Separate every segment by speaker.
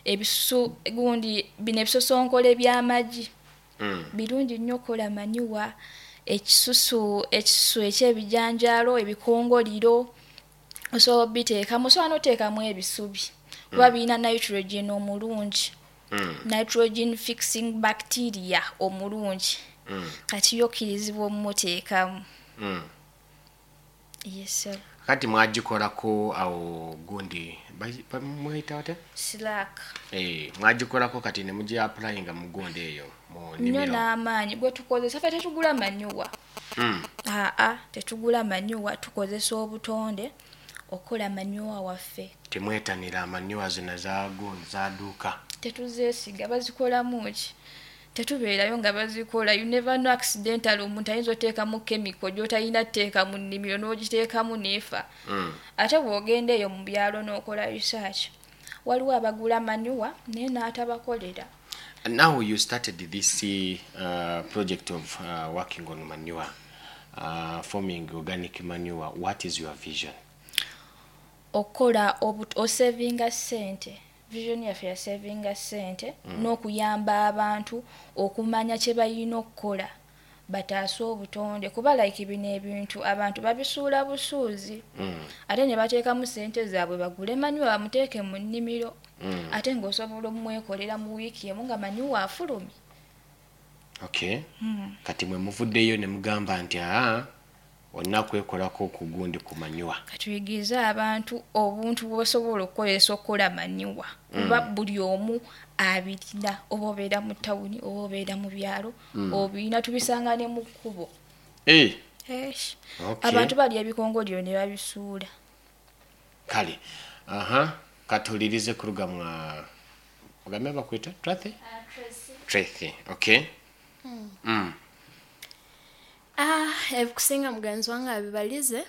Speaker 1: Ebisusu gundi binu ebisosonkole by'amagi birungi nnyo okkola manure, ekisusu ekyebijanjaalo, ebikongoliro osobola obbiteekamu, osobola n'okuteekamu ebisubi kuba biyina nitrogen omurungi, nitrogen fixing bacteria omurungi, kati ye okkirizibwa ommuteekamu. Yes, sir.
Speaker 2: Kati mwagikolako awo gundi mweyita batya?
Speaker 1: Slack.
Speaker 2: Eh, mwagikolako kati ne mugi applyinga mu gundi eyo mu
Speaker 1: Nnyo
Speaker 2: nnimiro.
Speaker 1: N'amaanyi gwe tukozesa, ffe tetugula manure. Aa, tetugula manure, tukozesa obutonde okukola manure waffe.
Speaker 2: Temwetanira manure zino za gundi zaduuka?
Speaker 1: Tetuzeesiga, bazikolamu ki? Tetubeerayo nga bazikola. You never know, accidental omuntu ayinza oteekamu chemical gy'otalina tteeka mu nnimiro n'ogiteekamu n'efa. Ate bw'ogenda eyo mu byalo n'okola research, waliwo abagula manure naye n'atabakolera.
Speaker 2: Now you started this project of working on manure, forming organic manure. What is your vision?
Speaker 1: Okukola osavinga ssente. Vision yaffe yasavinga ssente n'okuyamba abantu okumanya kye balina okukola bataase obutonde, kuba like bino ebintu abantu babisuula busuuzi ate ne bateekamu ssente zaabwe bagule manure bamuteeke mu nnimiro, ate ng'osobola omwekolera mu wiiki emu nga manure afulumye.
Speaker 2: Okay. Kati mwe muvuddeyo ne mugamba nti aa, olina kwekolako ku gundi, ku manure.
Speaker 1: Katuyigirize abantu obuntu bw'osobola okukozesa okukola manure, kuba buli omu abirina, oba obeera mu tawuni oba obeera mu byalo, obirina, tubisanga ne mu kkubo.
Speaker 2: Eh,
Speaker 1: Eish.
Speaker 2: Okay.
Speaker 1: Abantu balya ebikongoliro ne babisuula.
Speaker 2: Kale, aha, katulirize kuruga mwa ogambe bakwita Tracy? Tracy, okay.
Speaker 3: Ah, ebikusinga mugenzi wange abibalize,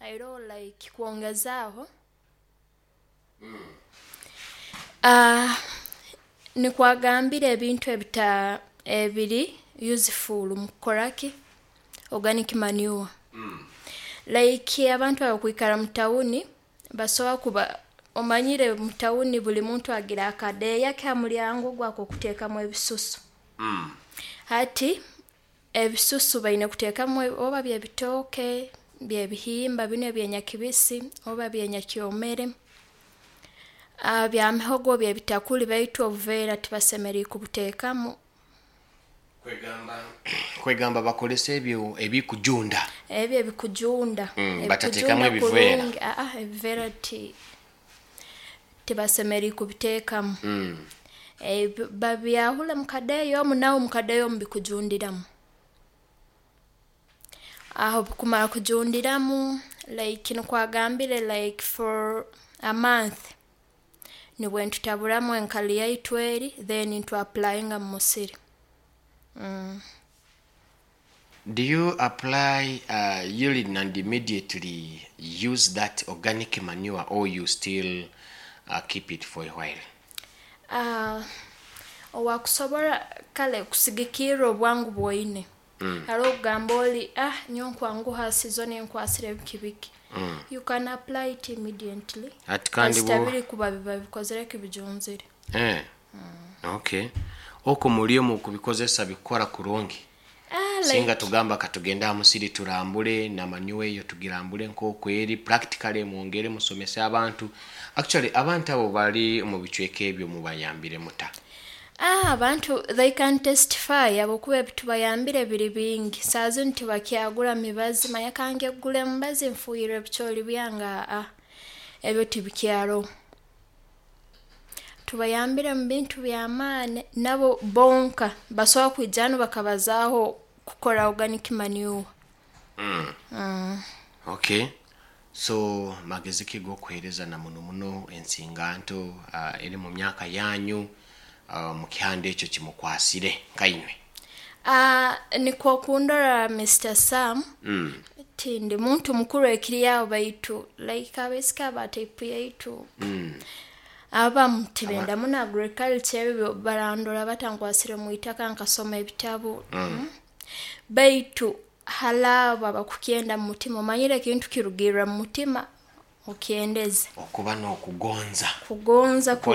Speaker 3: era like kwongezaaho, ah, nikwagambire ebintu ebita ebiri useful mu kukoraki organic manure. Like abantu abakwikara mu tawuni basobola kuba omanyire mu tawuni buli muntu agira akadeeya ke ha mulyango gwako okuteekamu ebisusu. Hati ebisusu baine kuteekamu oba by'ebitooke, by'ebihimba binu ebyenyakibisi oba byenyakyomere, ah, bya mihogo, by'ebitakuli, baitu obuveera tibasemeriire kubuteekamu.
Speaker 2: Kwegamba bakolesa ebyo ebikujunda.
Speaker 3: Ebyo ebikujunda.
Speaker 2: Batateekamu
Speaker 3: Ebikujunda
Speaker 2: ebiveera.
Speaker 3: kurungi. Aa, ebiveera tibasemeriire kubiteekamu. Babyahule mu kadeeya omu, nawe mu kadeeya omu bikujundiramu. Aho obu bikumara kujundiramu, like nikwo agambire, like for a month, nibwe nitutaburamu enkali yaitu eri, then nitu applyinga mu musiri.
Speaker 2: Do you apply urine and immediately use that organic manure, or you still keep it for a while?
Speaker 3: Ah, owakusobora kale kusigikirra obwangu bwoine. Haroho okugamba oli, ah, nyowe nkwanguha, season enkwasire biki biki. You can apply it immediately.
Speaker 2: Ati kandi
Speaker 3: kasita
Speaker 2: bo
Speaker 3: biri kuba biba bikozere ki, bijunzire.
Speaker 2: Eh. Okay. Okwo muri omu kubikozesa bikora kurungi?
Speaker 3: Ah,
Speaker 2: Singa
Speaker 3: like
Speaker 2: tugamba katugende aha musiri turambule na manure eyo, tugirambule nk'oku eri practically, mwongere musomese abantu. Actually abantu abo bali mu bicweka ebyo mubayambire muta?
Speaker 3: Ah, abantu they can testify habwokuba ebitubayambire biri bingi. Saaha zinu tibakyagura mibazi, manya kange kugura emibazi nfuuhirre ebicooli byange, aa, ebyo tibikyaroho. Tubayambire mu bintu by'amaani, nabo bonka basobora kwija hanu bakabazaaho kukora organic manure.
Speaker 2: Okay. So magezi ki g'okuheereza na muno muno ensinganto eri mu myaka yanyu, mu kihanda ekyo kimukwasire nkainywe?
Speaker 3: Ah, nikwo kundora Mr. Sam, tindi muntu mukuru ekiri aho, baitu like abaisiki aba type yaitu abamu tibenda muno agriculture, ebyo barandora batankwasire mu itaka nkasoma ebitabu. Baitu hali abo abakukyenda mu mutima, omanyire ekintu kirugirra mu mutima, okyendeze.
Speaker 2: Okuba n'okugonza
Speaker 3: kugonza.
Speaker 2: Kukora.